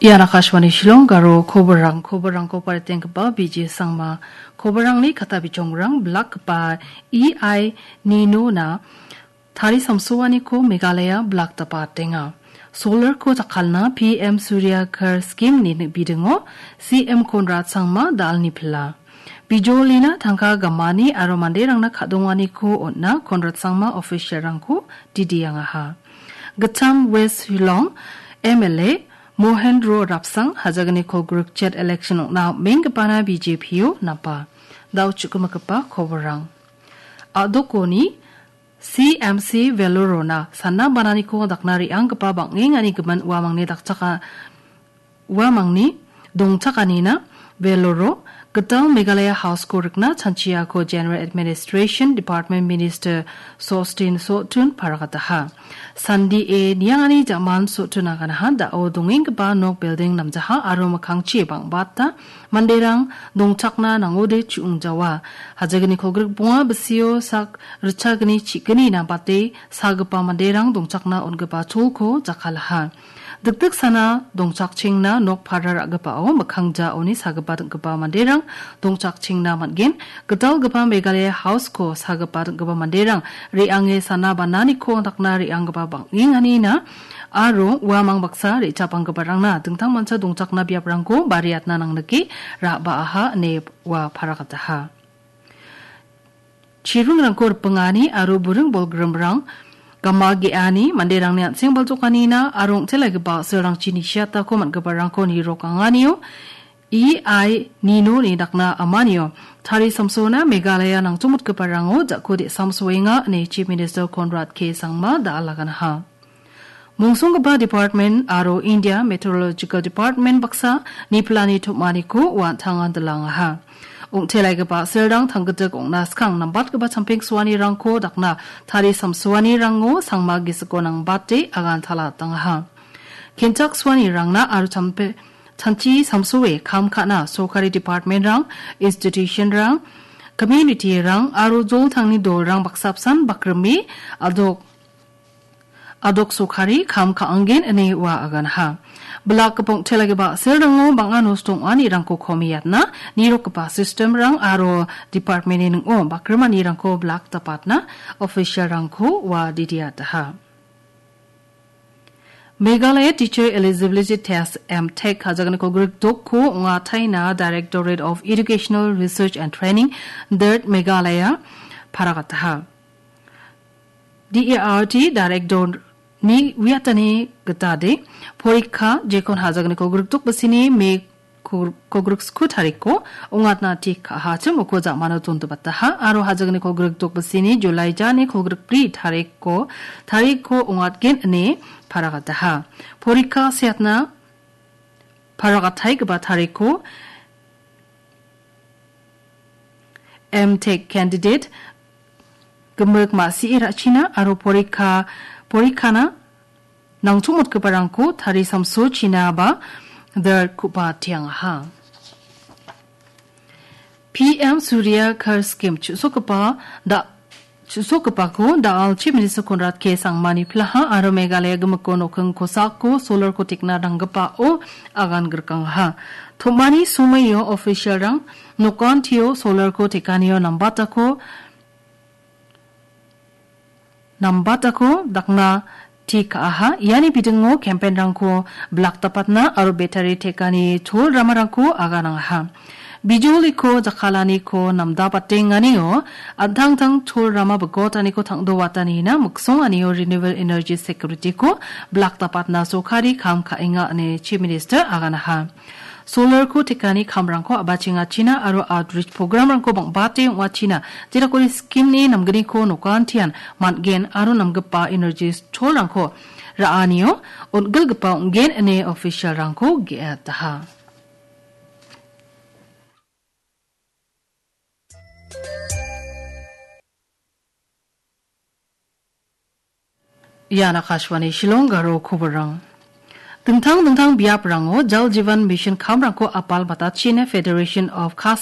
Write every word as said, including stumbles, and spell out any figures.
Ian Akashvani Shillong Garo koborrang, koborrangko paritenggipa B J Sangma. Koborrangni kata bijongrang blakgipa E I Nino-na tari samsoaniko Meghalaya blakdapatenga. Solar-ko jakkalna P M Surya Ghar Scheme-ni bidingo C M Conrad Sangma da·alni pila. Bijolina tangka gamani aro manderangna ka·donganiko on·na Conrad Sangma official-rangko didiangaha. Gittam West Shillong M L A Mohendro Rapsang hajagni kolgrik chet election ong·na am·enggipana B J P-o napa. Da·o chu·gimigipa koborrang. A·dokoni C M C Velorona sana bananiko dakna re·anggipa bang·engani gimin uamangni dakchaka-, uamangni dongchakanina Veloro gital Meghalaya House-ko rikna chanchiako General Administration Department Minister Sostin Sotun paragataha. Sandie niangani jaman Sotun aganaha da·o dongenggipa nok building namjaha aro mikkangchi bang·bata manderang dongchakna nangode chu·ongjawa. Hajagni kolgrik bonga bisio sak ritchagni chi·gni nabate sagipa manderang dongchakna on·gipa cholko jakkalaha. Dikdiksana dongchakchengna nok para ra·gipao mikkangjaoni sagipa ding·gipa manderang dongchakchengna man·gen. Gitalgipa Meghalaya House-ko sagipa ding·gipa manderang re·ange sana bananiko dakna re·anggipa bang·enganina aro uamang baksa re·chapanggiparangna dingtang mancha dongchakna biaprangko bariatna nangnike ra·baaha ine ua paragataha. Chiringrangko ripengani aro buring bolgrimrang gama ge·ani manderangni an·seng baljokanina aro ong·telagipa a·silrangchi nisiatako man·giparangko nirokanganio E I Nino-ni dakna amanio tari samsona Meghalaya nangchongmotgiparango jako de·samsoenga ine Chief Minister Conrad K Sangma da·alaganaha. Mongsonggipa department aro India Meteorological Department baksa nipilani tom·aniko uan tangan dilangaha. Ong·telaigipa a·silrang tanggitik ong·na skang nambatgipa champeng soanirangko dakna tari samsoanirango sangma gisiko nangbate agan tala tangaha. Kenchak soanirangna aro champe-, chanchi samsoe kam ka·na sorkari departmentrang, institutionrang, communityrang aro joltangni dolrang baksa apsan bakrime adok adok sorkari kam ka·angen ine ua aganaha. Blak gipok telagipa a·silrango bang·a nosto ong·anirangko komiatna nirokgipa systemrang aro departmentni ning·o bakrimanirangko blak dapatna officialrangko ua didiataha. Meghalaya Teacher Eligibility Test, M Tech, hajagni kolgrik dokko ong·ataina Directorate of Educational Research and Training, DERT Meghalaya, paragataha. D E R T Director-ni uiatani gitade, porikka jekon hajagni kolgrik dok bisini me kol-, kolgrik sku tarikko ong·atna tik ka·aha chim uko ja·mano dondibataha, aro hajagni kolgrik dok bisini July jani kolgrik bri tarikko, tarikko ong·atgen ine paragataha. Porikka seatna paragataigipa tarikko M Tech candidate gimik ma·sie ra·china aro porikka, porikkana nangchongmotgiparangko tari samsochina ba DERT ku·ba tiangaha. P M Surya Ghar Scheme chu·sokgipa da-, chu·sokgipako da·al Chief Minister Conrad K Sangmani pilaha aro Meghalaya gimikko nokking kosako solarko tekna ranggipao agan grikangaha. Tomani somoio officialrang nokantio solarko tekanio nambatako nambatako dakna tik ka·aha. Iani bidingo campaign-rangko blak dapatna aro battery tekani chol ramarangko aganangaha. Bijoliko jakkalaniko namdabatenganio an·tangtang chol rama bigotaniko tang·dowatanina miksonganio renewable energy security-ko blak dapatna sorkari kam ka·enga ine Chief Minister aganaha. Solarko tekani kamrangko a·bachengachina aro outreach program-rangko bang·bate ong·achina, jedakode scheme-ni namgniko nokantian man·gen aro namgipa energy cholrangko ra·anio on·gilgipa ong·gen ine officialrangko ge·ataha. Ian Akashvani Shillong Garo koborrang. Dingtang dingtang biaprango Jal Jeevan Mission kamrangko apal batachina Federation of Khasi